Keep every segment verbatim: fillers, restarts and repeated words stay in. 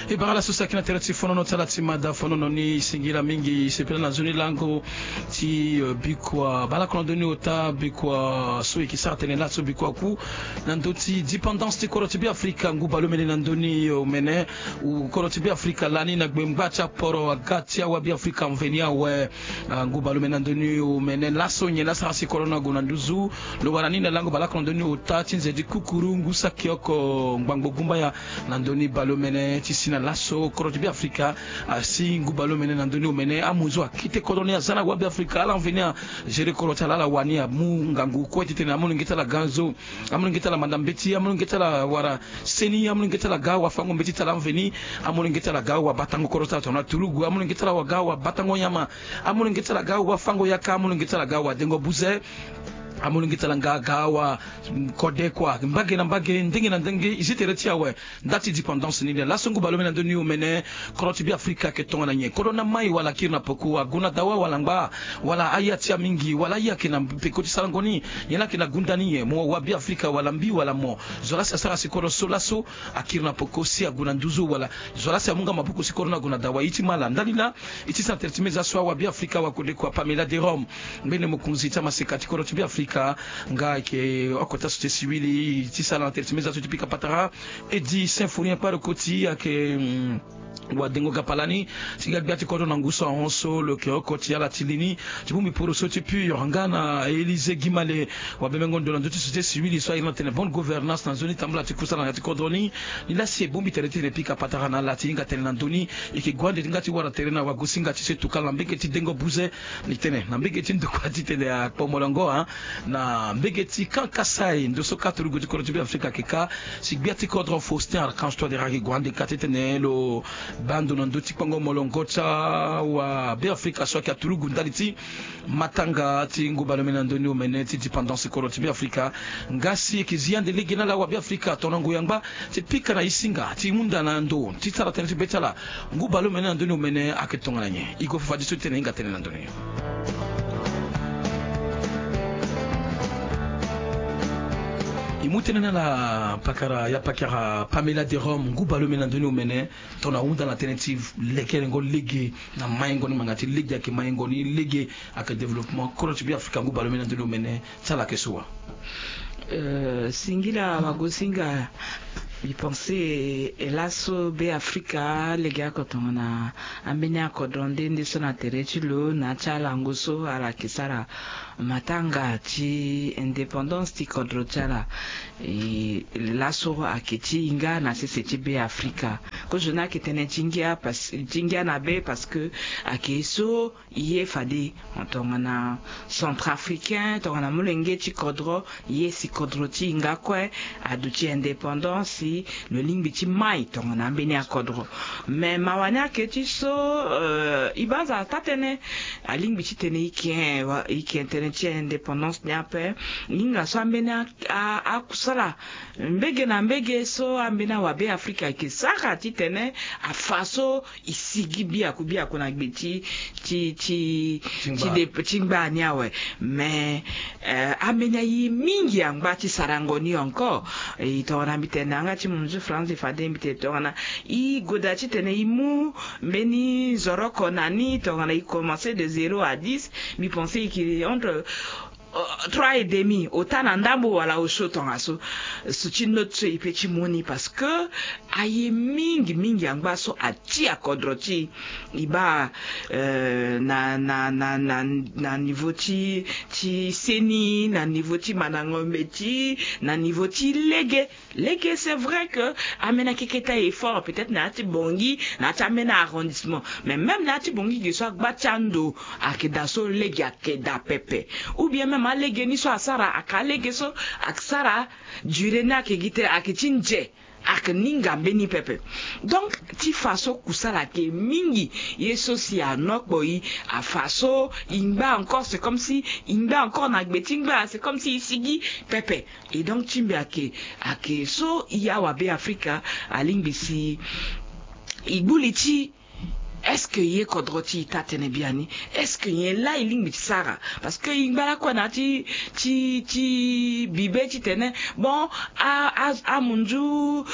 E bara laso saki na tere ti fonono ti ala ti mada fonono ni. Singila mingi, sepela na nzoni lango ti bikua balakondo ni ota, bikua so e ke sara tene laso bikua ku na ndö ti dépendance ti kodro ti Beafrika. Ngu baleomene na ndö ni omene, kodro ti Beafrika lani na gbengba ti aporo aga ti awa Beafrika mveni awe. Ngu baleomene na ndö ni omene laso nyen la sara si kodro ni ague na nduzu. Lo wara ni na lango balakondo ni ota ti nze ti kukuru ngu saki oko ngbangbo gumbaya na ndö ni baleomene ti si na laso kodro ti Beafrika asi ngu baleomene na ndö ni omene. Amunzu akete kodro ni aza na wa Beafrika ala mveni agere kodro ti ala ala wani amu ngangu kue titene amolenge ti ala aga nzo, amolenge ti ala manda mbeti, amolenge ti ala wara seni, amolenge ti ala aga wafango mbeti ti ala mveni, amolenge ti ala aga wabatango kodro ti ala tongana turugu, amolenge ti ala aga wabatango nyama, amolenge ti ala aga wafango yaka, amolenge ti ala aga wadengo buze, amolenge ti ala nga aga wakode kua mbage na mbage ndenge na ndenge. E zi tere ti awe nda ti dépendance ni nde laso ngu baleomene na ndö ni omene. Kodro ti Beafrika ayeke tongana nyen? Kodro ni amai wala akiri na peko, ague na dawa wala angba, wala aye atia mingi wala aye ayeke na peko ti sarango ni? Nyen la ayeke na gunda ni nyen? Mo wa Beafrika wala mbi wala mo? Zo la si asara si kodro so laso akiri na peko si ague na nduzu wala zo la si amu nga maboko si kodro ni ague na dawa? E ti ma ala ndali laa. E ti sara tere ti meza so awa Beafrika wakode kua Pamela de Rome, mbeni mokonzi ti amaseka ti kodro ti Beafrika nga ayeke oko ti asociété civile. E ti sara na tere ti meza so ti pika patara. E di Symphorien Kparokoti ayeke wadengo gapalani ti ga gbia ti kodro na ngu so ahon so lo yeke oko ti ala ti li ni ti bongbi poroso ti pur nga na Élysée Guimale, wabemengo ndo na ndö ti société civile so airi na tene bonne gouvernance na nzoni tambula ti kusala na ya ti kodro ni. Ni la si e bongbi tere ti tene pika patara na ala ti hinga tene na ndö ni. E yeke gue ande ti hinga ti wara tere na wagosinga ti so e tokala na mbege ti dengo buze. Ni tene na mbege ti ndokua ti tene akpo molongo a na mbege ti kan kasai ndo so ka turugu ti kodro ti Beafrika ayeke ka. Si gbia ti kodro Faustin Archange Touadéra ayeke gue ande ka titene lo baa ndo na ndö ti kpango molongo ti awa Beafrika so ayeke aturugu ndali ti matanga ti ngu baleomene na ndö ni omene ti dépendance ti kodro ti Beafrika. Nga si e yeke zi ande lege na ala awa Beafrika tongana ngoi angba ti pika na e singa ti hunda na ndo ti sara tënë ti be ti ala. Ngu baleomene na ndö ni omene ayeke tongana nyen? E gue fafadeso ti tene e hinga tënë na ndö ni. E mu tënë na ala pakara ya pakara Pamela de Rome, ngu baleomene na ndö ni omene tongana ahunda na tënë ti lekerengo lege na maingo ni, ngbanga ti lege ayeke maingo ni, lege ayeke développement kodro ti Beafrika, ngu baleomene na ndö ni omene ti ala ayeke so wa? Euh, singila wagosinga. Mbi pense e laso Beafrika lege oko tongana ambeni akodro nde nde so na tere ti lo na ya ti alango so ala yeke sara matanga ti indépendance ti kodro ti ala. E laso ayeke ti hinga na sese ti Beafrika. Kozo ni ayeke tënë ti ngia parce, ti ngia na be parce que ayeke so ye fade tongana centrafricain, tongana molenge ti kodro, ye si kodro ti hinga kue aduti indépendance si lo lingbi ti mai tongana ambeni akodro. Me mawa ni ayeke ti so, euh, e banza taa tënë. Alingbi titene e yeke, e yeke tënë ti indépendance ni ape. Hinga so ambeni a, a, akusala mbege na mbege so ambeni awabe Afrika ayeke sara titene afa so e sigi biaku biaku na gbe ti, ti, ti, ti ngba, ti ngba ni awe. Me, eh, ambeni aye mingi angba ti sarango ni encore. E tongana mbi tene na yanga ti munzu France fade mbi tene tongana e goda titene e mu mbeni zoroko na ni tongana e commencer de zéro à dix, mbi pense e yeke entre trois et demi, ota na ndambo wala osio tongaso. So ti note so e pe ti mu ni parce que aye mingi mingi angba so atia kodro ti e baa, euh, na, na, na, na, na niveau ti, ti seni, na niveau ti mandango mbeti, na niveau ti lege. Lege, c'est vrai que ambeni akeke ti a effort peut-être na ya ti Bangui, na ya ti ambeni arrondissement. Mais même na ya ti Bangui ge so agba ti ando ayeke daa so lege ayeke daa pepe. Ou bien même alege ni so asara ayeke alege so ayeke sara durée ni ayeke gi tere ayeke ti nze. Ayeke ni nga mbeni pepe. Donc ti fa so kusala ayeke mingi. Ye so si anokpo e, afa so e ngba encore, c'est comme si e ngba encore na gbe ti ngba, c'est comme si e sigi pepe. Et donc ti mbi ayeke, ayeke so e awabe Afrika alingbi si e gbu li ti Est-ce que ye kodro ti e taa tënë biani? Est-ce que nyen laa e lingbi ti sara? Parce que e ngba lakue na ya ti ti ti bibe titene bon, a a amunzu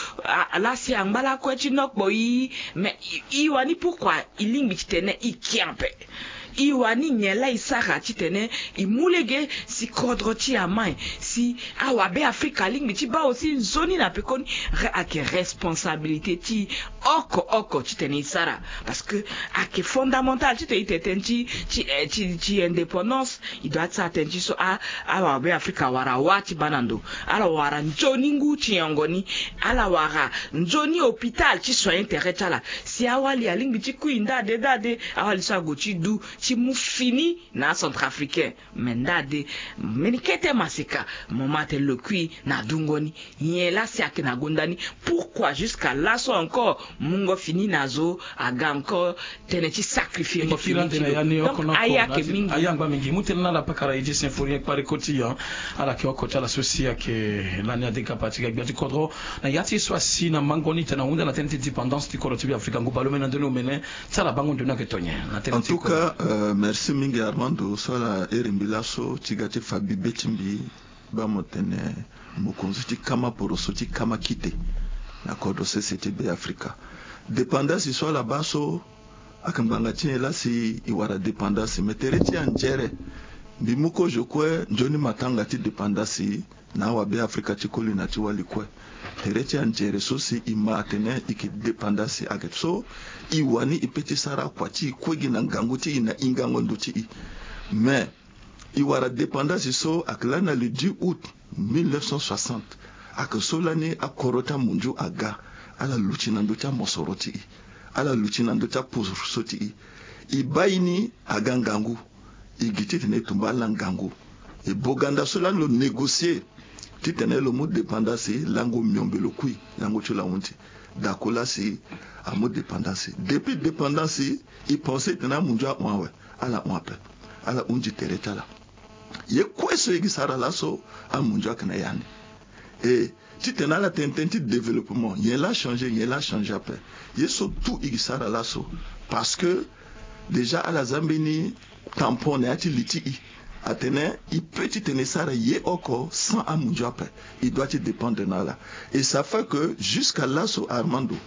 laa si angba lakue ti nokpo e. Mais e wani pourquoi e lingbi titene e ke ape? E wani nyen laa e sara titene e mu lege si kodro ti e amai, si awabe afrika alingbi ti baa aussi nzoni na pekoni? Ayeke responsabilité ti e oko oko titene e sara. Parce que ayeke fondamental titene e tene tënë ti ti ti indépendance. E doit ti sara tënë ti so awabe afrika awara wâ ti baa na ndo, ala wara nzoni ngu ti nyongo ni, ala wara nzoni hôpital ti soigner tere ti ala. Si awali alingbi ti kui nda ade nda ade, awali so ague ti du ti mu fini na acentrafricain. Mais nda ade, mbeni kete maseka, mo ma atene lo kui na dungo ni. Nyen laa si ayeke na gonda ni? Pourquoi jusqu'à laso encore mungo fini na zo aga encore tënë ti sacrifier ngo fini ti lo? Donc aye ayeke mingi. Aye angba mingi. Mu tënë na ala pakara e ti Symphorien kpari koti ya. Ala yeke oko ti ala so si ayeke lani adega pa ti ga gbia ti kodro na ya ti so asi na mango ni tena hunda na tënë ti dépendance ti kodro ti be afrika ngu baleomene na ndoni omene. Ti ala bango ndo ni ayeke to nyen na tënë ti kodro? En tout cas, merci mingi Armando so ala iri mbi laso ti ga ti fa bibe ti mbi. Baa mo tene mokonzi ti kama poroso ti kama kite na kodro sese ti be afrika. Dépendance so ala baa so ayeke ngbanga ti nyen laa si e wara dépendance? Mais tere ti anzere, mbi mu kozo kue nzoni matanga ti dépendance na awabe afrika ti koli na ti wali kue. Tere ti anzere so si e ma atene e yeke dépendance ayeke so e wani e pe ti sara akua ti e kue gi na ngangu ti e na hingango ndo ti e. Mais e wara dépendance so ayeke lani na le dix août mille neuf cent soixante. Ayeke so lani akoro ti amunzu aga, ala luti na ndö ti amosoro ti e, ala luti na ndö ti aposo ti e. E baa e ni aga ngangu, e gi titene e tumba ala ngangu. E boganda so lani lo négocier titene lo mu dépendance lango miombe lo kui, lango ti lo ahunzi. Dako laa si amu dépendance. Depuis dépendance e pense titene amunzu ahon awe. Ala hon ape. Ala hunzi tere ti ala. Ye kue so e gi sara laso, amunzu ayeke na ya ni. E titene ala tene tënë ti développement, nyen laa achangé, nyen laa achangé ape? Ye so tout e gi sara laso. Parce que déjà ala za mbeni tampon na ya ti li ti e, atene e peut titene e sara ye oko sans amunzu ape. E doit ti dépendre na ala. Et ça fait que jusqu'à laso Armando,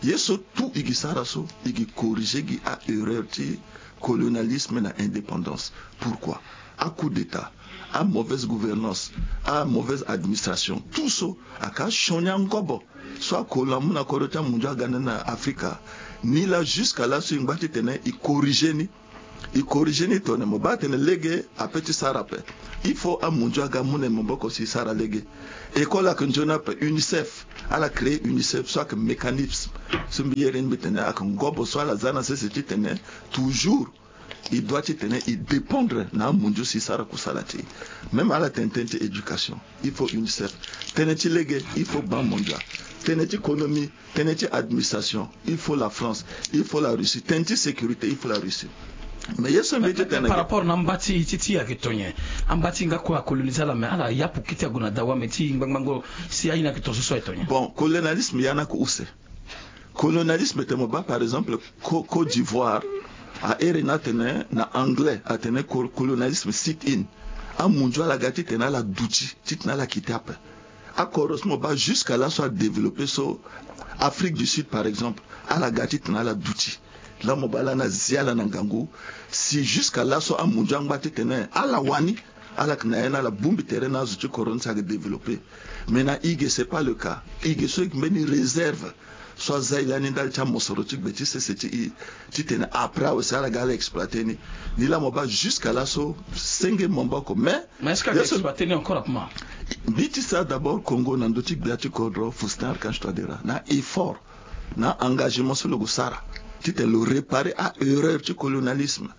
ye so tout e gi sara so, e gi corriger gi a erreur ti colonialisme na indépendance. Pourquoi? A coup d'état, a mauvaise gouvernance, a mauvaise administration, tout so ayeke asioni angobo so akolo amu na kodro ti amunzu aga nde na afrika. Ni laa jusqu'à laso e ngba titene e corriger ni. E corriger ni tone mo baa atene lege ape ti sara ape. Il faut amunzu aga amu na e maboko si e sara lege. École ayeke nzoni ape. Unicef, ala créer unicef so ayeke mécanisme so mbi iri ni mbi tene ayeke ngobo so ala za na sese titene toujours e doit titene e dépendre na amunzu si e sara kusala ti e. Même ala tene tënë ti éducation, il faut unicef. Tënë ti lege, il faut banque mondiale. Tënë ti économie, tënë ti administration, il faut la France, il faut la Russie. Tënë ti sécurité, il faut la Russie. Mais ye so mbi ti tene par rapport na amba ti ti ti ayeke to nyen? Amba ti nga kue acoloniser ala, mais ala yapu kiti ague na dawa, mais ti ngbangbango si aye ni ayeke to so so ayeke to nyen? Bon, colonialisme ya ni ayeke use. Colonialisme tene mo baa par exemple Côte d'Ivoire, a iri ni atene na anglais atene colonialisme sit-in. Amunzu ala ga titene ala duti titene ala kite ape. Akoro so mo baa jusqu'à laso adéveloppé so, Afrique du Sud par exemple, ala ga titene ala duti. Laa mo baa lani azi ala na ngangu. Si jusqu'à laso amunzu angba titene ala wani, ala yeke na ya ni ala bongbi tere na azo ti kodro ni si ayeke développé. Mais na e ge c'est pas le cas. E ge so e yeke mbeni réserve so aza e lani ndali ti amosoro ti gbe ti sese ti e, titene après awe si ala ga ala exploiter ni. Ni laa mo baa jusqu'à laso senge maboko mais mais est-ce que ala exploiter ni encore apema? Mbi ti sara d'abord Congo na ndö ti gbia ti kodro Faustin Archange Touadéra na effort na engagement so lo gue sara titene lo réparer a erreur ti colonialisme.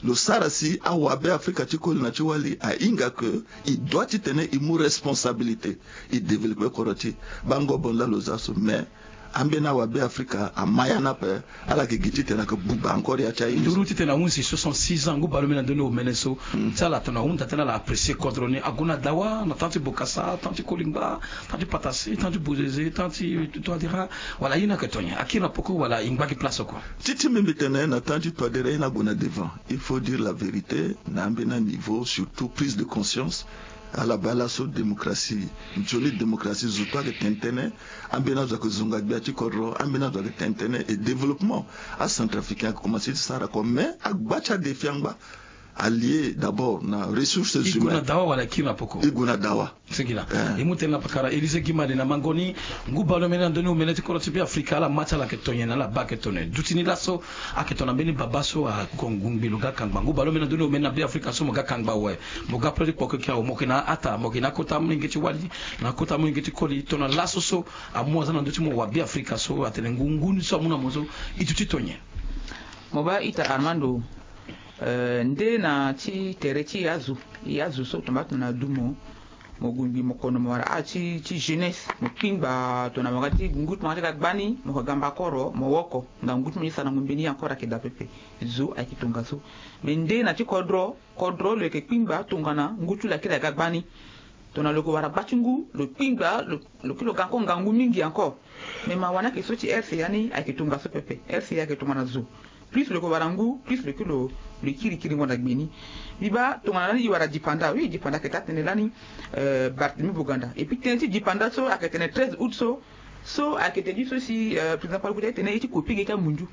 Lo sara si awabe afrika ti koli na ti wali ahinga que e doit titene e mu responsabilité, e développé kodro ti e. Bango bonda lo za so mais Ambeni awabe afrika ama ya ni ape. Ala yeke gi titene ayeke buba encore ya ti aye. Nduru titene ahunzi soixante-six ans ngu baleomene na ndoni omene so. Ti ala tongana ahunda tënë ala apprécier kodro ni ague na dawa na temps ti bokasa, temps ti kolingba, temps ti patasi, temps ti bozeze, temps ti toadera. Wala aye ni ayeke tongana akiri na poko wala e ngba gi place oko? Ti ti mbi mbi tene na temps ti toadera aye ni ague na devant. Il faut dire la vérité na ambeni aniveau, surtout prise de conscience. Ala baa laso démocratie, nzoni démocratie zo kue ayeke tene tënë. Ambeni azo ayeke zonga gbia ti kodro, ambeni azo ayeke tene tënë. Et développement acentrafricain ayeke commencé ti sara kua, mais agba ti adéfi angba. Alie d'abord na ressources humaines. E gue na dawa wala e kiri na poko? E gue na dawa. Singila. E mu tënë na pakara Élysée Guimade na mango ni. Ngu baleomene na ndoni omene ti kodro ti Beafrika, ala ma ti ala ayeke tongana ala baa ayeke tongana duti ni laso. Ayeke tongana mbeni baba so ako ngungbi lo ga kangba. Ngu baleomene na ndoni omene na Beafrika so mo ga kangba awe. Mo ga pele ti kpoko eke awe, mo yeke na ata, mo yeke na akota molenge ti wali, na akota molenge ti koli. Tongana laso so amu aza na ndö ti mo wa Beafrika so atene ngu ngu ni so amu na mo so e duti tongana? Mo baa ita Armando. Eh, nde na ti tere ti azo, e azo so tongana tongana adu mo, mo gungbi mo kono mo wara âge ti, ti jeunesse, mo kpingba tongana mo ga ti ngu ti mo ga ti ga gbani, mo yeke ga mbakoro mo woko, ngangu ti mo ni sarango mbeni ye encore ayeke daa pepe. Zo ayeke tongaso. Mais nde na ti kodro, kodro lo yeke kpingba tongana ngu ti lo akiri aga gbani. Tongana lo yeke wara gba ti ngu, lo kpingba, lo, lo kiri lo ga encore ngangu mingi encore. Mais mawa ni ayeke so ti R C A ni ayeke tongaso pepe. R C A ayeke tongana zo. Plus lo yeke wara ngu, plus lo kiri lo, lo kiri kiringo na gbe ni. Mbi baa tongana lani e wara dipanda, oui, dipanda ayeke taa tënë lani, eh, Barthélemy Boganda. Et puis tënë ti dipanda so ayeke tene treize août so, so ayeke tene ti so si, eh, président Kpale Kuti atene e ti kopi ge ti amundu.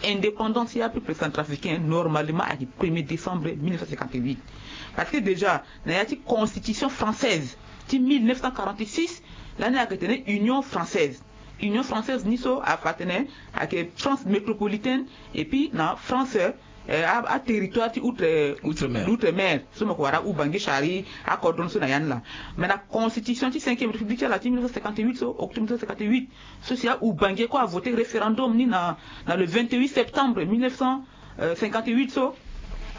Indépendance ya peuple centrafricain normalement ayeke premier décembre mille neuf cent cinquante-huit. Parce que déjà na ya ti constitution française ti mille neuf cent quarante-six, lani ayeke tene Union française. Union française ni so afa atene ayeke France métropolitaine, et puis na France, eh, a, a territoire ti outre, outre-mer. Outre-mer so mo yeke wara Oubangui, Chari, akodro ni so na ya ni laa. Mais na constitution ti cinquième république ti ala ti mille neuf cent cinquante-huit so, octobre mille neuf cent cinquante-huit, so si a Oubangui kue avoté référendum ni na, na le vingt-huit septembre mille neuf cent cinquante-huit so,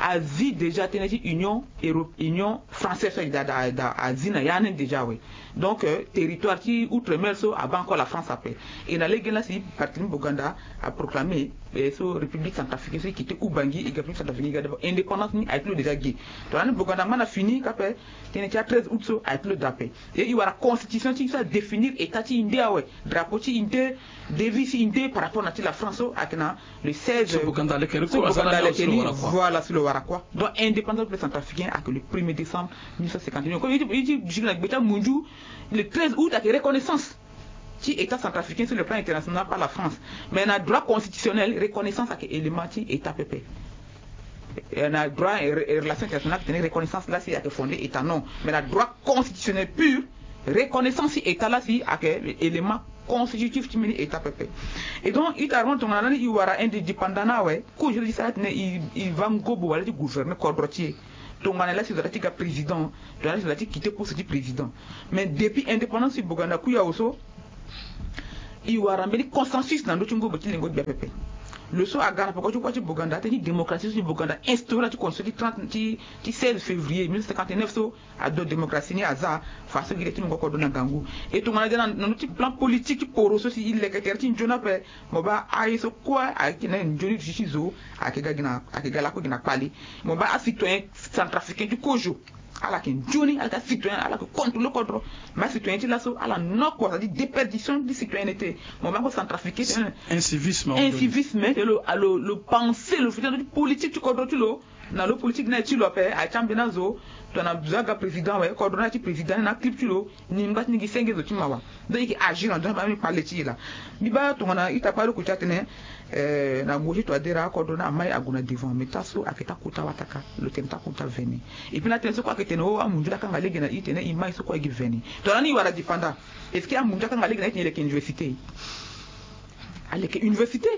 azi déjà tënë ti Union Euro-, Union française so, da, da, da, azi na ya ni déjà, oui. Donc, euh, territoire ti outre-mer so abaa encore la France ape. Et na lege ni laa si Barthélemy Boganda aproclamé, eh, so République centrafricaine so e quitté Oubangui, e ga République centrafricaine, e ga d'abord indépendance ni aye ti lo déjà ge. Tongana ni Boganda angba na fini kape, tënë ti a treize août so aye ti lo daa ape. Et e wara constitution ti e so adéfinir état ti e nde awe, drapeau ti e nde, devise ti e nde par rapport na ti la France so ayeke na le seize. So Boganda aleke, so Boganda aleke ni, voilà, si lo wara kua. Donc indépendance du peuple centrafricain ayeke le premier décembre mille neuf cent cinquante et un. Comme e ti, e ti, e ti na gbe ti amundu, le treize août ayeke reconnaissance ti état centrafricain sur le plan international par la France. Mais na droit constitutionnel, reconnaissance ayeke élément ti état pepe. Eh, na droit, eh, re-, relation internationale ayeke tene reconnaissance laa si ayeke fondé état, non. Mais na droit constitutionnel pur, reconnaissance ti état laa si ayeke élément constitutif ti mbeni état pepe. Et donc ita, avant tongana lani e wara indépendant ni awe, kozo ti sara titene e, e va ngobo wala ti gouverner kodro ti e. Tongana laa si lo za ti ga président, tongana laa si lo za ti quitté poste ti président. Mais depuis indépendance ti Boganda Kuyawo so, e wara mbeni consensus na ndö ti ngobo ti lengo gbia pepe. Lo so aga na peko ti kuâ ti Boganda, tënë ti démocratie so ti Boganda instauré na ti constitution ti trente, ti, ti seize février mille neuf cent cinquante-neuf so, ado démocratie ni aza, fa so gi le ti mungo kodro na ngangu. E tongana de na, na ndö ti plan politique ti poro so si e leke tere ti nzoni ape, mo baa aye so kue ayeke na nzoni duti ti zo, ayeke ga gi na, ayeke ga lakue gi na kpale. Mo baa acitoyen centrafricain ti kozo, ala yeke nzoni, ala yeke acitoyen, ala yeke contrôler kodro. Mais acitoyen ti laso ala noko, c'est-à-dire déperdition ti citoyenneté. Mo baa ko centrafricain, incivisme, incivisme, lo, lo, lo pensé, lo fini na ndö ti politique ti kodro ti lo. Na lo politique ni aye ti lo ape, aye ti ambeni azo. Tongana zo aga président awe, kodro ni aye ti président ni na clip ti lo. Ni ngba ti ni gi senge zo ti mawa. Donc e yeke agir na ndö ni, ambeni kpale ti e laa. Mbi baa tongana ita kpale oko ti atene, eh, na ngu ti Touadéra kodro ni amai ague na devant, mais taa so ayeke taa kota wataka, lo tene taa kota vene. Et puis na tënë so kue ayeke tene o, amundu laa akanga lege na e titene e mai so kue e gi vene. Tongana ni e wara dipanda, est-ce que amundu akanga lege na e titene e leke université? Aleke université.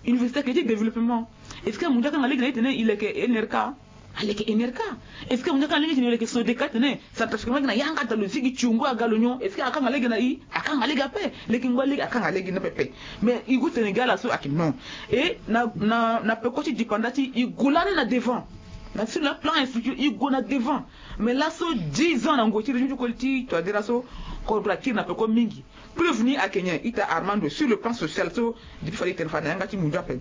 Université ayeke ti développement. Est-ce que amundu akanga lege na e titene e leke N R K? Aleke N R K. Est-ce que amundu akanga lege titene e leke Sodeka titene centrafricain lege na yanga daa lo zi gi tiongo aga lo nyon? Est-ce que akanga lege na e? Akanga lege ape. Leke ngba lege akanga lege ni pepe. Mais e gue tene gi ala so ayeke non. Et na, na, na peko ti dipanda ti e, e gue lani na devant. Na sur le plan infrastructure i gue na devant. Mais laso dix ans na ngoi ti régime ti koli ti Touadéra so, kodro akiri na peko mingi. Preuve ni ayeke nyen? Ita Armando, sur le plan social so, depuis fade tene fade na yanga ti mundu ape.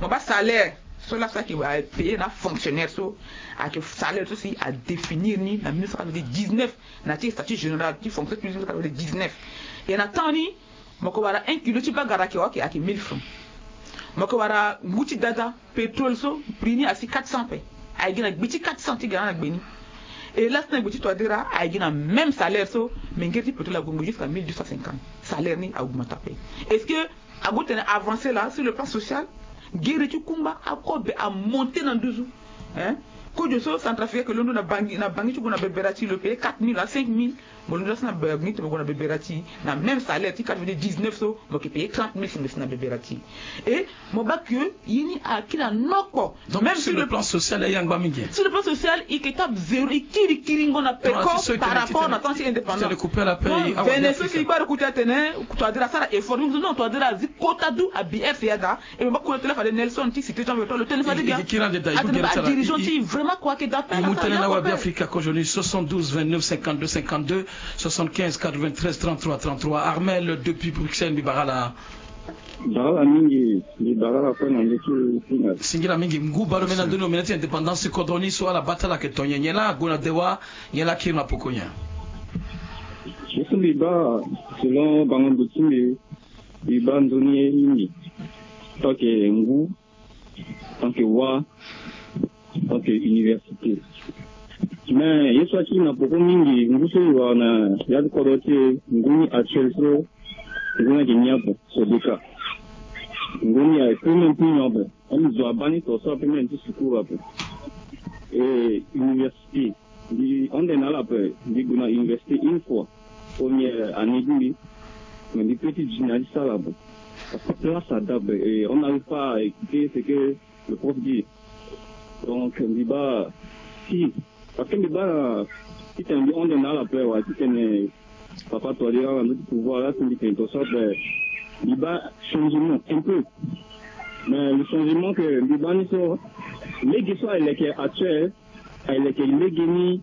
Mo baa salaire so laso ayeke payé na afonctionnaire so, ayeke salaire so si adéfinir ni na mille neuf cent quatre-vingt-dix-neuf na ti statut général ti fonction publique mille neuf cent quatre-vingt-dix-neuf. E na temps ni, mo yeke wara un kilo ti bagara ayeke wara ayeke mille francs. Mo yeke wara ngu ti dada, pétrole so, prix ni asi quatre cents pe. Aye gi na gbe ti quatre cents ti gara na gbe ni. E laso na gbe ti Touadéra aye gi na même salaire so, mais ngere ti pétrole ague ngbe jusqu'à mille deux cent cinquante. Salaire ni augmente ape. Est-ce que ague tene avancé laa sur le plan social? Gere ti kumba akobe amonté na nduzu. Hein? Kozo so centrafricain ayeke londo na Bangui, na Bangui ti gue na Beberati, lo payé quatre mille à cinq mille. Mo londo laso na Bangui ti mo gue na Beberati, na même salaire ti quatre-vingt-dix-neuf so, mo yeke payé trente mille si mo si na Beberati. Et mo baa ke ye ni akiri na noko. Donc même sur le plan social, e yangba mingi. Sur le plan social, i yeke tape zéro, i kiri kiringo na peko par rapport na temps ti indépendance. Vene so si i baa lo kuti atene Touadéra asara effort. Non, Touadéra azi kota du abi R C A da. E mo baa kota tene fade Nelson ti cité Jean Bertrand lo tene fade ga. Atene ba dirigeant ti vraiment kua ayeke da pe. I mu tënë na awa Beafrika kozo ni, soixante-douze vingt-neuf cinquante-deux cinquante-deux, soixante-quinze quatre-vingt-treize trente-trois trente-trois. Armel depuis Bruxelles, mbi bara ala. Bara ala mingi, mbi bara ala kue na ndö ti finga. Singila mingi. Ngu baleomene na ndö ni, omene ti indépendance ti kodro ni so ala baa ti ala ayeke to nyen? Nyen laa ague na dewa, nyen laa akiri na poko nyen? Ye so mbi baa, selon bango ndo ti mbi, mbi baa nzoni ye mingi. Tant que ngu, tant que wa, tant que université. Mais ye so akiri na poko mingi, ngu so e wara na ya ti kodro ti e, ngu ni actuel so, ngu ni ayeke ni ape, Sodeka. Ngu ni aye pe même plus ni ape. Amu zo abaa ni to so ape même ti sukuru ape. Et université, mbi hon de na ala ape, mbi gue na université une fois, première année ti mbi, mais mbi pe ti duti na ya ti sara ape. Parce que place ada ape, et on n'arrive pas à écouter ce que le prof dit. Donc mbi baa si, parce que mbi baa titene mbi hon de na ala ape wala titene papa Touadéra wala ndö ti pouvoir laa si mbi tene to so ape, mbi baa changement un peu. Mais le changement que mbi baa ni so, lege so ayeke actuel, ayeke lege ni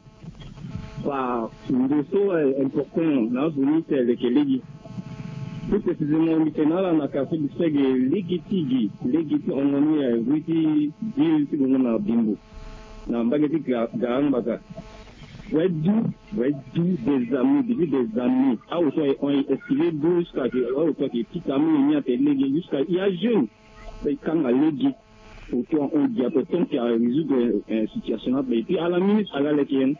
par ndo so important na azo ni si ayeke lege. Plus précisément mbi tene na ala na quartier Bisege, lege ti gi, lege ti hongo ni, eh, rue ti ville ti Bongo na Bimbo, na mbage ti Ga-, Garangbaka. Wai du, wai du des années, depuis des années. Awe so aye hon, aye escalier du jusqu'à que awe so ayeke ti ta mingi ni ate lege jusqu'à il y a jeune. Mpe kanga lege. Autant on dit à peu près qu'il a résoudre, euh, situation là. Et puis à la minute, à la leke,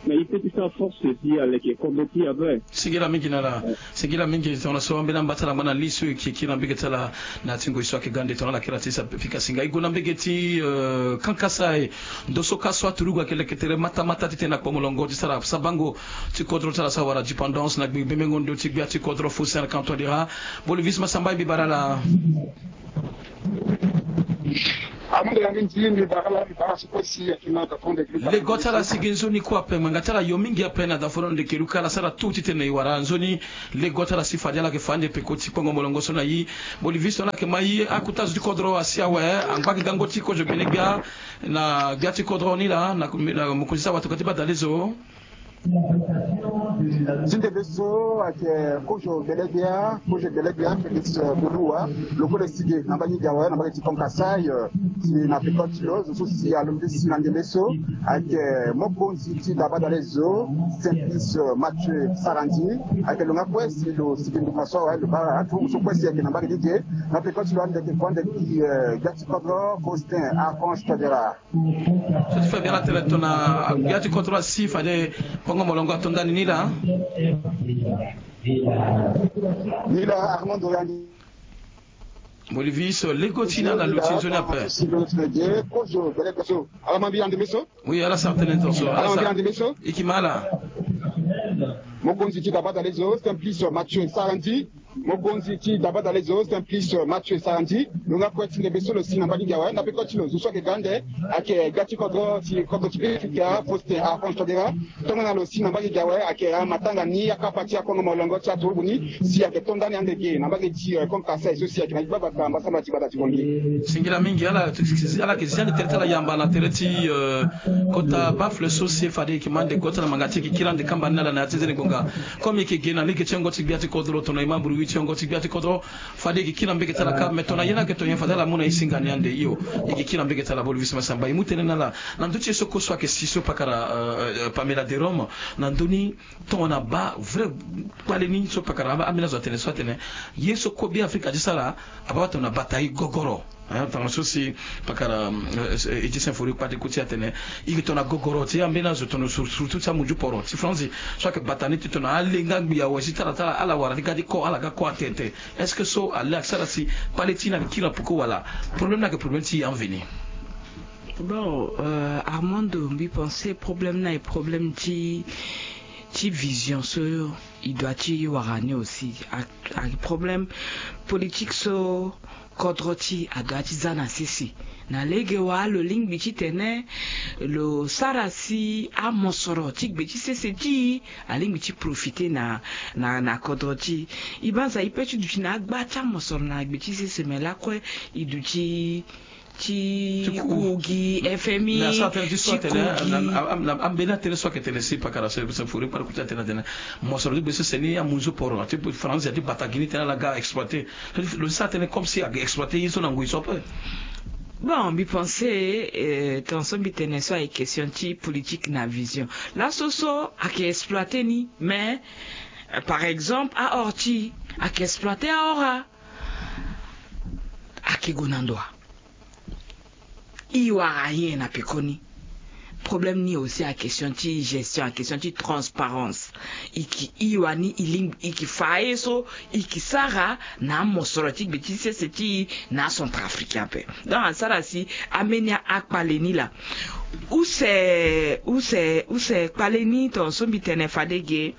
mais il peut que ça force aussi à leke kodro ti après. Singila mingi na ala. Singila mingi, tongana so ambeni ambatala ngbana li so e yeke kiri na mbage ti ala na ya ti ngoi so ayeke ga nde tongana ala kiri na ti sa fika singa. E gue na mbage ti, euh, Kankasa e. Ndo so ka so aturugu ayeke leke tere matamata titene akpo molongo ti sara sabango ti kodro ti ala so awara dépendance na gbe bembengo ndo ti gbia ti kodro Faustin Archange Touadéra. Bolivis Massamba, mbi bara ala. Amu nde ya mingi, mbi bara ala, mbi bara ala si kue si ayeke na da fo nde. Lego ti ala si ge nzoni kue ape, ngbanga ti ala yo mingi ape na da fo nde keluka ala sara tout titene e wara nzoni. Lego ti ala si fade ala yeke fa ande peko ti kpongo molongo so na e. Bolivis so ala yeke ma e, akota zo ti kodro asi awe, angba gi gango ti kozo gbene gbia na gbia ti kodro ni laa, na, na mokonzi ti awa tokua ti badalezo. Ti ndembe so ayeke kozo gbelegbia, kozo gbelegbia Félix Boluwa, lo kue lo si ge na mbage ti awe, na mbage ti Kankasa, eh, si na peko ti lo, zo so si alondo ti si na ndembe so ayeke mokonzi ti da badalezo, Simplice Mathieu Sarandji, ayeke lo nga kue si lo si ge nduka so awe, lo baa aturugu so kue si ayeke na mbage ni ge, na peko ti lo ande ayeke kue ande ti, eh, gbia ti kodro Faustin Archange Touadéra. So ti fa biara tene tongana gbia ti kodro asi fade kpongo molongo ato ndani ni laa. Ni laa Armando Yandi. Bolivis, lego ti na ala lo ti nzoni ape. Oui, ala sara tënë tongaso. Ala sara. E yeke ma ala. Mokonzi ti da badalezo, Simplice Mathieu Sarandji. Mokonzi ti dabadale zo Simplice Mathieu Sarandji, lo nga kue ti ndembe so lo si na mbage gi awe, na peko ti lo zo so ayeke ga ande, ayeke ga ti kodro ti kodro ti Beafrika Faustin Archange Touadéra. Tongana lo si na mbage gi awe ayeke amatanga ni akapa ti akongo molongo ti aturugu ni si ayeke to ndani ande ge na mbage ti, eh, Kongo Kasai so si ayeke na gbagba ka mbasambala ti gbata ti Bangui. Singila mingi ala, ala yeke zi ande tere ti ala yamba na tere ti, eh, kota bafle so si fade e yeke ma ande kota na manga ti e yeke kiri ande kamba ni na ala na ya ti nzeni ngonga. Comme e yeke ge na lege ti yongo ti gbia ti kodro, tongana e ma buru wi ti yongo ti gbia ti kodro, fade e yeke kiri na mbege ti ala ka, mais tongana ye ni ayeke to nyen fade ala mu na e singa ni ande hio. E yeke kiri na mbege ti ala bolo visi masamba e mu tënë na ala. Na ndö ti ye so kue so ayeke si so pakara, euh, euh, Pamela Derome, na ndö ni tongana baa vrai kpale ni so pakara ambeni azo atene so atene ye so kue Beafrika ti sara abaa tongana bata e gogoro. Hein, tongana so si pakara, euh, euh, Edith Symphorien kpa ti ku ti atene e yeke tongana gogoro ti ambeni azo tongana sur-, surtout ti amunzu poro ti Franzi so ayeke bata ni ti tongana alenga ngbi awe si ti ala ti ala ala wara ti ga ti ko ala ga ko atete. Est-ce que so ale ayeke sara si kpale ti e ni ayeke kiri na peko wala problème ni ayeke problème ti e aveni? Bon, euh, Armando, mbi pense problème ni ayeke problème ti, ti vision so e doit ti wara ni aussi. A, a problème politique so kodro ti e adoit ti za na sese. Na lege wa lo lingbi titene lo sara si amosoro ti gbe ti sese ti e alingbi ti profite na, na, na kodro ti e. E banza e peut ti duti na agba ti amosoro na gbe ti sese, me lakue e duti ti ku gi F M I, ti ku gi. Ambeni atënë so ayeke tene si pakara Symphorien kpale ku ti atene atene mosoro ti gbe sese ni amunzu poro ati Franzi ati bata gi ni tene ala ga exploiter. Lo ti sara tënë comme si ayeke exploiter ye so na ngoi so ape. Bon, mbi pense, euh, tongana so mbi tene so ayeke question ti politique na vision. Laso so ayeke exploiter ni, mais, euh, par exemple, aor ti e ayeke exploiter aor a, ayeke gue na ndo wa? E wara nyen na pekoni? Problème ni aussi a question ti gestion, a question ti transparence. E ke, e wani e lingbi, e ke fa aye so e ke sara na amosoro ti gbe ti sese ti e na acentrafricain ape. Donc asara si ambeni akpale ni laa. Use, use, use kpale ni, tongana so mbi tene fade ge,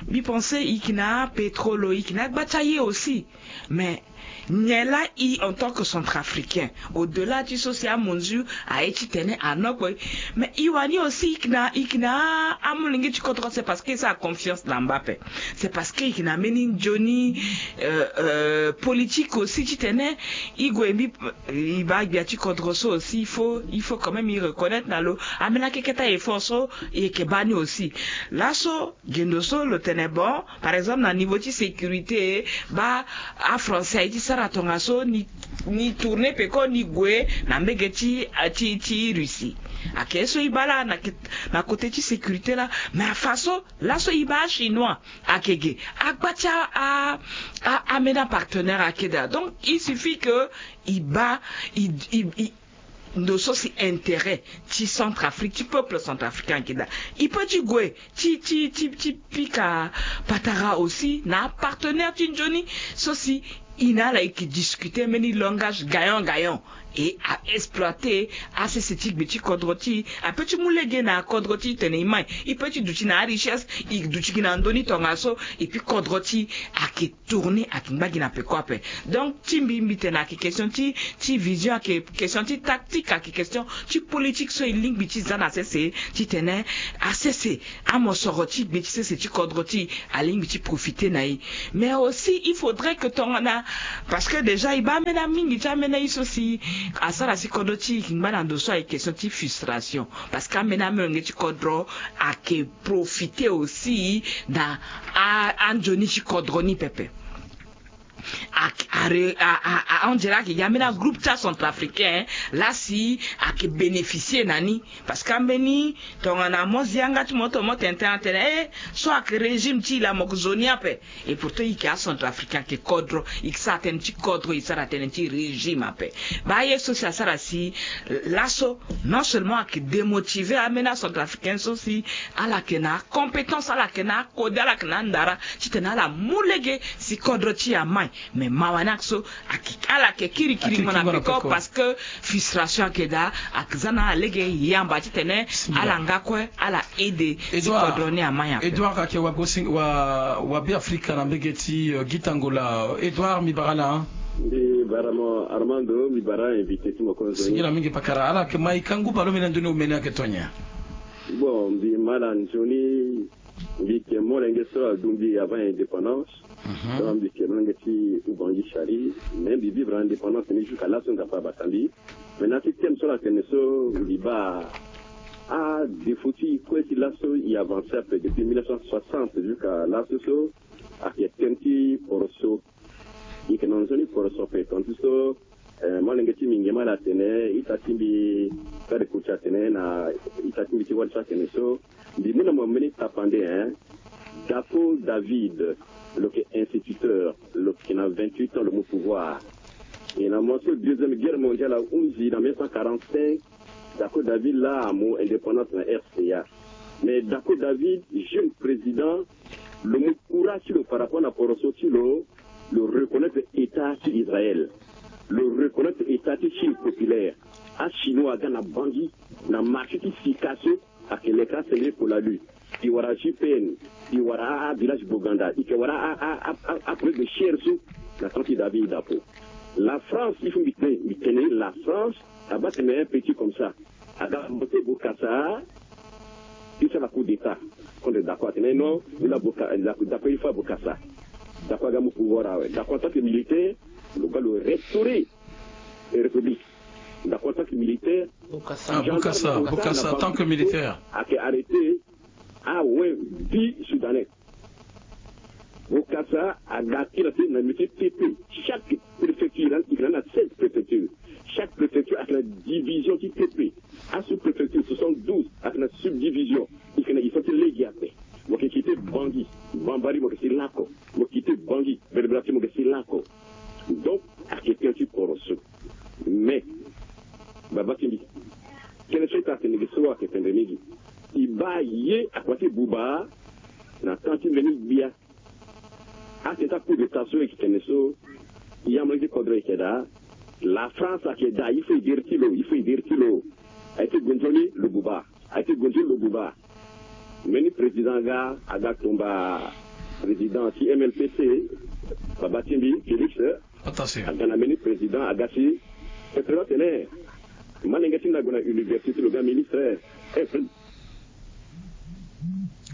mbi pense e ke na apétrole, e ke na agba ti aye aussi. Mais nyen laa e en tant que centrafricain, au-delà ti so si amunzu aye titene anokpo e, mais e wani aussi e ke na, e ke na amolenge ti kodro, c'est parce que e sara confiance na mba ape. C'est parce que e ke na mbeni nzoni, euh, euh, politique aussi titene e gue mbi, e baa gbia ti kodro so aussi, il faut, il faut quand même e reconnaître na lo ambeni akeke ti a-effort so e yeke baa ni aussi. Laso gendo so lo tene bon, par exemple na niveau ti sécurité, baa afrançais aye ti sara tongaso ni, ni tourner peko ni gue na mbege ti, ti, ti Russie. Ayeke so e baa laa na, na côté ti sécurité laa, mais afa so laso e baa achinois ayeke ge, agba ti a, a, a, ambeni apartenaire ayeke daa. Donc il suffit que e baa, e, e, e, ndo so si intérêt ti Centrafrique, ti peuple centrafricain ayeke daa. E peut ti gue ti, ti, ti, ti pika patara aussi na apartenaire ti nzoni so si e na ala e ke discuter mbeni langage gagnant gagnant. E a exploiter asese ti gbe ti kodro ti e, ape ti mu lege na kodro ti e tene e mai. E peut ti duti na arichesse, e duti gi na ndö ni tongaso, et puis kodro ti e ayeke tourner, ayeke ngba gi na peko ape. Donc ti mbi, mbi tene ayeke question ti, ti vision, ayeke question ti tactique, ayeke question ti politique so e lingbi ti za na sese titene asese, amosoro ti gbe ti sese ti kodro ti e alingbi ti profiter na e. Mais aussi il faudrait que tongana, parce que déjà e baa ambeni amingi ti ambeni aye so si asara si kodro ti e ngba na ndo so ayeke question ti frustration, parce que ambeni amolenge ti kodro ayeke profiter aussi na a, anzoni ti kodro ni pepe. A, a, a, a, on dirait ayeke gi ambeni agroupe ti acentrafricain laa si ayeke bénéficier na ni. Parce que ambeni tongana mo zi yanga ti mo, mo tene tënë atene, eh, so ayeke régime ti e laa, mo yeke zo ni ape. Et pourtant e yeke acentrafricain, ayeke kodro, e yeke sara tënë ti kodro, e sara tënë ti régime ape. Baa ye so si asara si laso non seulement ayeke démotiver ambeni acentrafricain so si ala yeke na compétence, ala yeke na akode, ala yeke na andara titene ala mu lege si kodro ti e amai. Mais mawa ni So ala yeke kirikiri mo na peko parce que frustration ayeke daa. Aza na lege yamba titene ala nga kue ala aide ti kodro ni ama nyen ape. Edouard ayeke wagosinga wa wa Be Afrika na mbege ti Gita Ngola. Edouard, mbi bara ala. Mbi bara mo Armando, mbi bara invité ti mo konzo. Singila mingi pakara. Ala yeke ma e ka ngu baleomene na ndoni omene ayeke tongana nyen? Bon, mbi ma ala nzoni. Mbi yeke molenge so aduti mbi avant indépendance. Donc mbi yeke molenge ti Oubangui Chari. Mais mbi vivre na indépendance ni jusqu'à laso nga fa abata mbi. Maintenant ti thème so ala tene so mbi baa adéfaut ti e kue ti laso e avancer ape depuis mille neuf cent soixante jusqu'à laso so ayeke thème ti poroso. E yeke na nzoni poroso ape tongaso so molenge ti mbi nge ma ala tene ita ti mbi kade kuti atene na ita ti mbi ti wali so atene so mbi mu na mo mbeni tapande hein. Daco David, lo yeke instituteur, lo yeke na vingt-huit ans lo mu pouvoir. E na mo so deuxième guerre mondiale ahunzi na mille neuf cent quarante-cinq. Daco David laa amu indépendance na R C A. Mais Daco David, jeune président, lo mu courage ti lo par rapport na poroso ti lo. Lo reconnaître état ti Israël. Lo reconnaître état ti Chine populaire. Achinois aga na Bangui na marché ti sika so ayeke leke asengre pour la lue. E wara J P N, e wara avillage Boganda, e yeke wara aprojet de chaire so na temps ti David Daco. La France, il faut mbi tene, mbi tene la France abaa tene un petit comme ça. Aga mbote Bokassa ti sara coup d'état contre Daco, atene non, ni la Bokassa, Daco il faut Bokassa. Daco aga mu pouvoir awe. Daco en tant que militaire lo ga lo restaurer république. Daco en tant que militaire. Bokassa, Bokassa en tant que militaire ayeke arrêter awe dix soudanais. Bokassa aga kiri na ti na mbi ti T P. Chaque préfecture ayeke na seize préfecture. Chaque préfecture ayeke na division ti T P. Asous-préfecture soixante-douze ayeke na subdivision. E yeke na histoire ti lege ape. Mo yeke kite Bangui, Bambari mo yeke si lako. Mo yeke kite Bangui, Berberature mo yeke si lako. Donc ayeke tënë ti poroso. Mais baba ti mbi, tënë so ita atene ge so ayeke tendre mingi. E baa ye akua ti buba na temps ti mbeni gbia. Atene ti coup d'état so e yeke tene so e ya mo ye ti kodro e yeke daa. La France ayeke daa, il faut e deri ti lo, il faut e deri ti lo. Ayeke gue nzoni lo buba. Ayeke gue nzoni lo buba. Mbeni président aga aga tomba président ti M L P C, baba ti mbi Félix. Aga na mbeni président aga si. Président atene malenge ti mbi ague na université, lo ga ministre.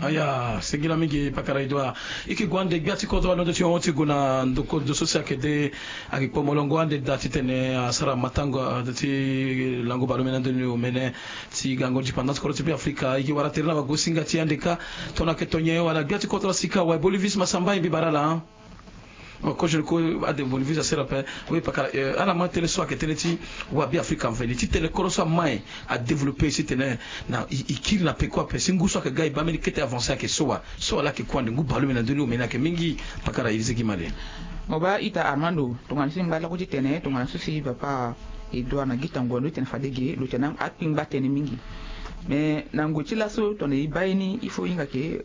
Aya, singila mingi pakara Edouard. E yeke gue ande gbia ti kodro alondo ti hongo ti gue na ndoko ndo so si ayeke de. Ayeke kpo molongo ande daa titene asara matango ti lango baleomene na ndoni omene ti gango dépendance kodro ti Be Afrika. E yeke wara tere na wagosinga ti e ande kâ. Tongana ayeke to nyen wala gbia ti kodro asika awe? Bolivis Masamba, e mbi bara ala. Kozo ni kue ade Bolivis asara ape. Oui pakara, ala ma tënë so ayeke tënë ti wa Be Afrika mveni ti tene kodro so amae adéveloppé si tene na e kiri na peko ape si ngu so ayeke ga e baa mbeni kete avancé ayeke so wa. So wa laa ayeke kue ande ngu baleomene na ndoni omene ayeke mingi. Pakara e lise gi male. Mo baa ita Armando, tongana si ngba lako ti tene tongana so si papa Edouard na Gita Ngondo ti tene fade ge lo tene akpingba tënë mingi. Mais na ngoi ti laso tongana e baa ye ni il faut e hinga ke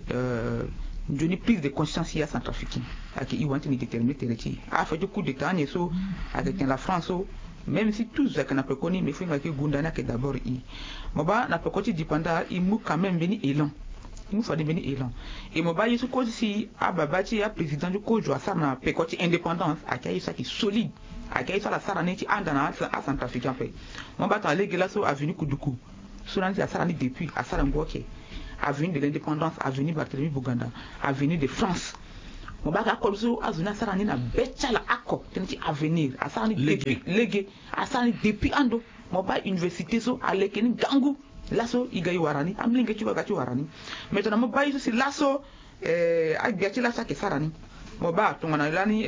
nzoni prise de conscience ya Centrafricain. Ayeke e wani ti ni déterminer tere ti e. Affaire ti coup d'état ni so ayeke tene la France so, même si tout zo ayeke na pekoni mais faut hinga ke gunda ni ayeke d'abord e. Mo baa na peko ti dépendance e mu quand même mbeni élan. E mu fade mbeni élan. E mo baa ye so kozo si ababa ti aprésident ti kozo asara na peko ti indépendance ayeke aye so ayeke solide. Ayeke aye so ala sara ni ti anda na acentrafricain ape. Mo baa tongana lege laso avenue Kuduku. So lani si asara ni depuis asara ngu oke. Avenue de l'indépendance, avenue Barthélemy Boganda, avenue de France. Mo baa ka akol so azo ni asara ni na be ti ala oko tënë ti avenir asara ni depuis lege. Asara ni depuis ando. Mo baa université so aleke ni ngangu. Laso e ga e wara ni amolenge ti lo aga ti wara ni. Mais tongana mo baa ye so si laso agbia ti laso ayeke sara ni. Mo baa tongana lani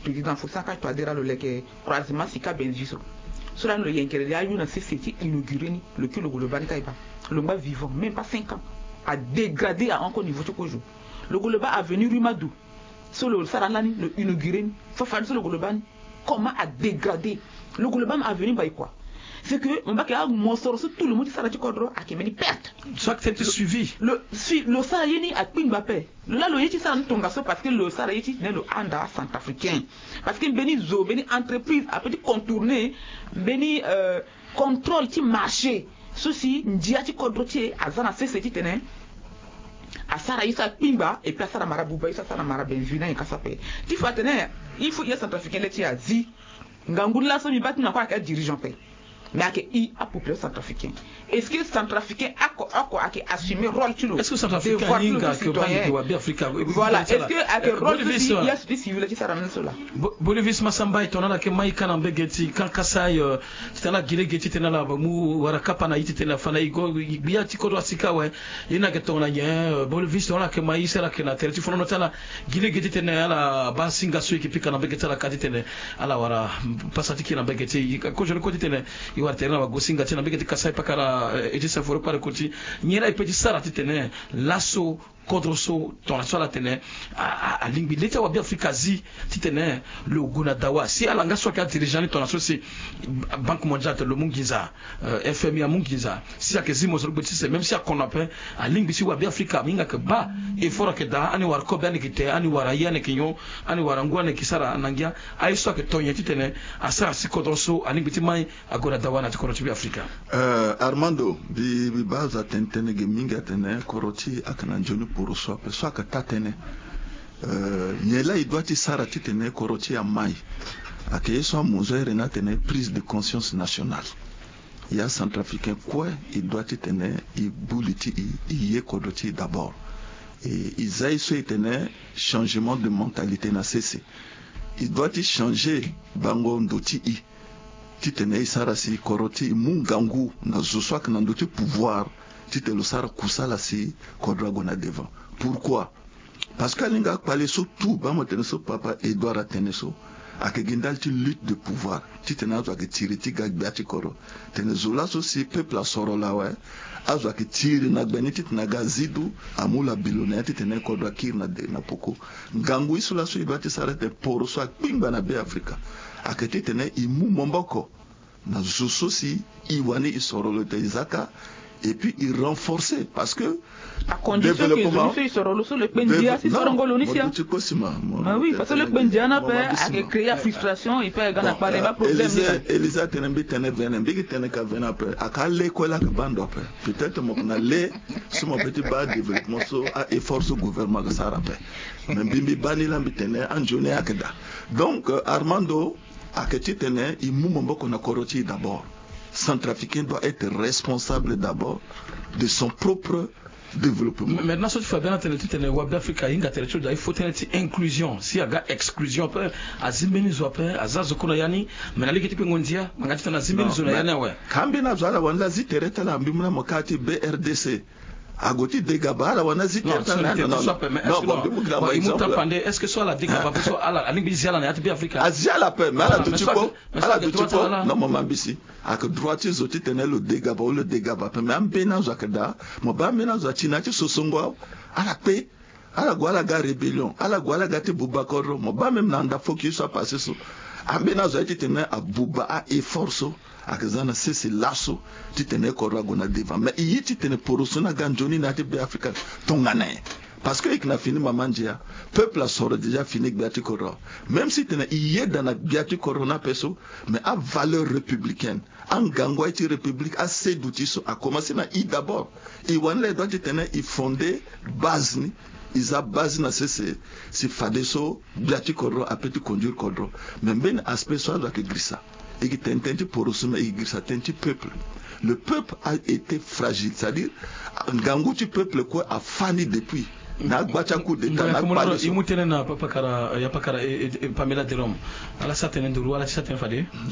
président Faustin Archange Touadéra lo leke croisement sika Bellevue so. So lani lo yengere li ayu na sese ti inauguré ni. Lo kiri lo gue lo baa ni ka e baa. Lo ngba vivant même pas cinq ans. Adégradé ahon encore niveau ti kozo. Lo gue lo baa avenue Rue Madou. So lo sara ni lani lo inauguré ni. Fafade so lo gue lo baa ni. Comment adégradé. Lo gue lo baa ni avenue Mbaïkoua. C'est que mo bake amosoro so tout le monde ti sara ti kodro ayeke mbeni perte. So ayeke tene ti suivi. Lo si lo sara ye ni akpingba ape. Lo la lo ye ti sara ni tongaso parce que lo sara ye ti tene lo anda acentrafricain. Parce que mbeni zo mbeni entreprise ape ti contourner mbeni contrôle ti marché so si ndia ti kodro ti e aza na sese titene asara ye so akpingba et puis asara mara buba ye so asara mara benvie na nyen ka so ape. Ti fa atene il faut ye centrafricain le ti e azi. Ngangu laso mbi baa ti na kue ayeke adirigeant ape. Mais ayeke i apopulation centrafricain. Est-ce que centrafricain oko oko ayeke assumer rôle ti lo? Est-ce que centrafricain ahinga ke baa ni ke wa be africa? Voilà, est-ce que ayeke rôle ti si ye so ti civil ti sara ni so laa? Bolivis masamba e tongana ala yeke mai ka na mbege ti kan kasai titene ala gi lege titene ala mu wara kapa na ye titene afa na e go gbia ti kodro asika awe. Ye ni ayeke tongana nyen? Bolivis tongana ala yeke mai ye so ala yeke na tere ti fonono ti ala gi lege titene ala baa singa so e yeke pika na mbege ti ala ka titene ala wara pasa ti kiri na mbege ti e. Kozoni kue titene e wara tere na wago singa ti e na mbege ti kasai pakara. E ti sefo lo kpale koti nyen laa e pe ti sara titene laso kodro so tongana so ala tene alingbi le ti awabe afrika azi titene lo gue na dawa si ala nga so ayeke adirigeant ni tongana so si banque mondiale atene lo mu nginza, fmi amu nginza si ayeke zi mo zo lo gbe ti sese même si akono ape. Alingbi si wabe afrika ahinga ayeke baa effort ayeke daa ani wara kobe ani yeke te ani wara aye ani yeke nyon ani wara ngu ani yeke sara na ngia. Aye so ayeke to nyen titene asara si kodro so alingbi ti mai ague na dawa na ya ti kodro ti be afrika. Armando, mbi baa azo atene tënë ge mingi atene kodro ti e ayeke na nzoni poroso ape so ayeke taa-tënë. Nyen laa e doit ti sara titene kodro ti e amai? Ayeke ye so amonzo here ni atene prise de conscience nationale. Ya centrafricain kue e doit titene e bu li ti e e ye kodro ti e d'abord. E za ye so e tene changement de mentalité na sese. E doit ti changer bango ndo ti e titene e sara si kodro ti e mu ngangu na zo so ayeke na ndö ti pouvoir titene lo sara kusala si kodro ague na devant. Pourquoi? Parce que alinga akpale so tout baa mo tene so papa Edouard atene so ayeke gi ndali ti lutte de pouvoir titene azo ayeke tiri ti ga gbia ti kodro. Tene zo laso si peuple asoro lo awe azo ayeke tiri na gbe ni titene aga azi du amu lo abilo na ya titene kodro akiri na poko. Ngangu ye so laso e doit ti sara titene poro so akpingba na be afrika ayeke titene e mu maboko na zo so si e wani e soro lo tene e za ka. Et puis e renforcer parce que acondition ke zo ni so e soro lo so lo kpe ndia si sorongo lo ni sia. Mo duti kue si ma. Bah oui, parce que lo kpe ndia ni ape ayeke créer afrustration et puis ayeke ga na kpale ba problème ni. Elisa atene mbi tene vene mbi yeke tene ka vene ape ayeke ale kue laa ayeke baa ndo ape. Peut-être mo yeke na le so mo peut ti baa développement so a effort so gouvernement ayeke sara ape. Mais mbi mbi baa ni laa mbi tene anzoni ayeke daa. Donc Armando, ayeke titene e mu maboko na kodro ti e d'abord. Centrafricain doit être responsable d'abord de son propre développement. Maintenant so ti fa bia na tene titene wabe afrika ahinga tere ti lo daa il faut tënë ti inclusion si aga exclusion ape. Azi mbeni zo ape aza zo kue na ya ni. Mais na lege ti kpengo ndia ma nga titene azi mbeni zo na ya ni awe. Ka ambeni azo ala wani laa zi tere ti ala mbi mu na mo ka ti brdc. Ague ti dega baa ala wani azi tere ti ala na ya ni. Non non non. Bon mbi mu gi na mo exemple. Est-ce que so ala dega baa ape so ala alingbi ti zi ala na ya ti be afrika? Azi ala ape mais ala duti kpo. Ala duti kpo. Non mo ma mbi si ayeke droit ti zo titene lo dega baa ou lo dega baa ape mais ambeni azo ayeke daa. Mo baa ambeni azo ati na ya ti sosongo awe. Ala kpe. Ala gue ala ga rébellion ala gue ala ga ti buba kodro mo baa même na anda foki ye so apasse so. Ambeni azo aye titene abuba a effort so ayeke za na sese laso titene kodro ague na devant mais e ye titene poroso ni aga nzoni na ya ti be afrika. Tongana nyen? Parce que e yeke na fini mama ndia. Peuple asoro déjà fini gbia ti kodro. Même si tene e yeda na gbia ti kodro ni ape so mais avaleur républicaine angangu aye ti république asedu ti so akomanse na e d'abord. E wani laa e doit titene e fonde base ni. E za base ni na sese si fadeso gbia ti kodro ape ti conduire kodro. Mais mbeni aspect so azo ayeke girisa e yeke tene tënë ti poroso mais e yeke girisa tënë ti peuple. Le peuple a été fragile c'est-à-dire ngangu ti peuple kue afa ni depuis na agba ti acoup d'état na akpale so. E mu tënë na pakara ya pakara pamela de rome. Ala sa tënë nduru ala ti sa tënë fade.